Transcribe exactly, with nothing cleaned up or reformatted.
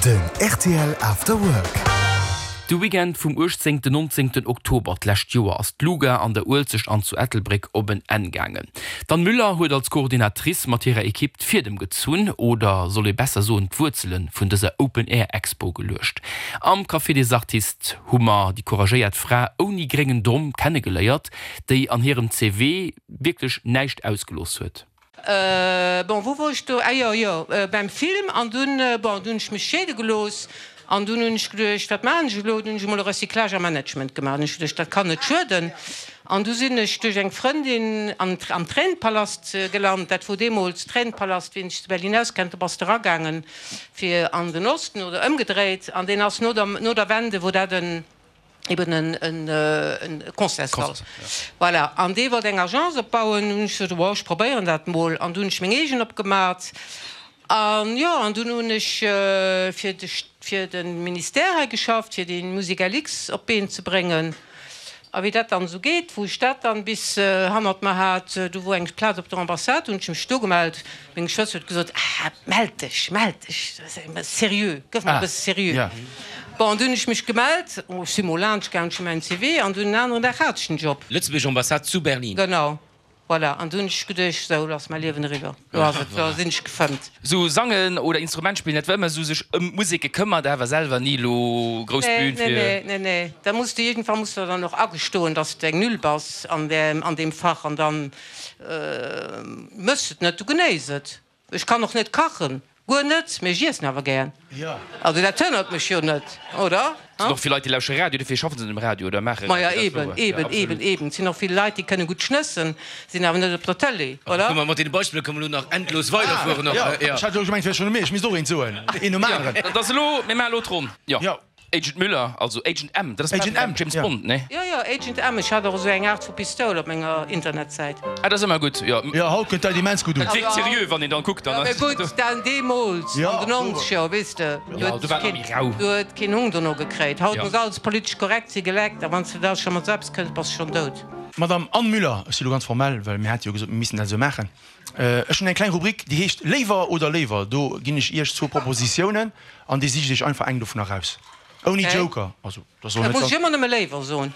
Den rtl After Work. De Weekend vum uechtzéngten, nonzéngten Oktober d'lescht Joer ass d'Luga an der Uelzecht an zu Ettelbréck op en Enn gaangen. D'Anne Müller huet als Coordinatrice mat hirer Ekipp d'Fiedem gezunn, oder soll ee besser soen d'Wuerzele vun dëser Open Air Expo geluecht. Am Café des Artistes hu mer déi couragéiert Fra ouni gréngen Domm kennegeléiert, déi an hirem CV wierklech näischt ausgelooss huet. Bon, wou wor ech do? Ah jo, jo, beim Film. An dunn, bon, dunn hunn ech mech scheede gelooss an dunn hunn ech geduecht, wat maachen ech elo? Dunn hunn ech emol e Recyclage a Management gemaach. Hunn ech geduecht, dat kann net schueden. An du sinn ech duerch eng Frëndin an am Tränenpalast gelant. Dat wor deemools Tränenpalast, wien sech zu Berlin auskennt, do bass de eragaangen fir an den Osten oder ëmgedréit. An deen ass no der, no der Wende wor dat en, eben en Concertssall. Voilà, an dee wollt eng Agence opbauen. Hunn ech gesot, oh, ech probéieren dat mol. An du hunn ech meng eegen opgemat. An jo, an dunn hunn ech fir de fir de Ministère hei geschafft, fir déi Musique LX op d'Been ze bréngen. A wéi dat dann esou geet, wou ech dat dann bis hannert mer hat, du wor eng Plaz op der Ambassade, hunn ech mech do gemellt. Meng Schwëster huet gesot, Ah, mell dech, mell dech, seriö, gëff mol e bësse seriö. Bon, an dunn hunn ech mech gemellt, oh, ech si mol laanscht gaangen, ech hu mäin C V an dunn en aneren Dag hat ech den Job. Lëtzebuerger Ambassade zu Berlin. Genau, voilà. An dunn hunn ech geduecht, sou, elo ass mäi Liewen eriwwer, elo ass et, elo sinn ech gefëmmt. Sou sangen oder Instrument spillen, dat war ëmmer sou sech ëm d'Musek gekëmmert, awer selwer ni elo grouss Nee, Bühn nee, fir. nee, nee, nee. Da muss de, iergendwann muss de dann och agestoen, dass de eng Null bass an där, an deem Fach an dann mëss et net, du genéiss et. Ech kann och net kachen. Guer net, mee ech iessen awer gär. Also dat hënnert mech jo net, oder? Et sinn och vill Leit, déi lauschtere Radio, dofir schaffen se net um Radio oder maache Maja, Radio, dat ass eben, wouer. Jo, eben, absolut. eben, eben. Et sinn och vill Leit, déi kënne gutt schnëssen, sinn awer net op der Tëlee, oder? Guck mal, mat deene Beispiller kënne mer elo nach endlos weiderfueren. Ah, jo, ech hat elo gemengt, et wär schonn u mir, ech misst och eent soen, een nom aneren. Dat ass elo, mir maachen elo d'Ronn. Jo. Agent Müller, also Agent M, dat ass Agent M, James ja. Bond, nee? Jo, jo, Agent M. Ech hat och esou eng Aart vu Pistoul op menger Internetsäit. Ah, dat ass ëmmer gutt, jo. Jo, haut kënnt dat immens gutt un. Et wierkt seriö, wann een dann kuckt, dann Jo, mee ass. gutt, dann deemools, an den Nonzeger, weess de, do Jo, do huet war et nach keen, méi rau. do huet keen Hung dono gekréit. Haut Jo. muss alles politesch korrekt si, geleckt, a wann s de da scho mat esou eppes kënns, bass de schonn dout. Madame Anne Müller, ech si lo ganz formell, well mir hate jo gesot, mir missten dat esou maachen. Ech hunn eng kleng Rubrik, déi heescht Léiwer oder léiwer. Do ginn ech Iech zwou Propositiounen an Dir sicht Iech einfach eng dovun eraus. Ouni Okay. Joker, also dat soll Da net muss ech ganz. ëmmer nëmme léiwer soen.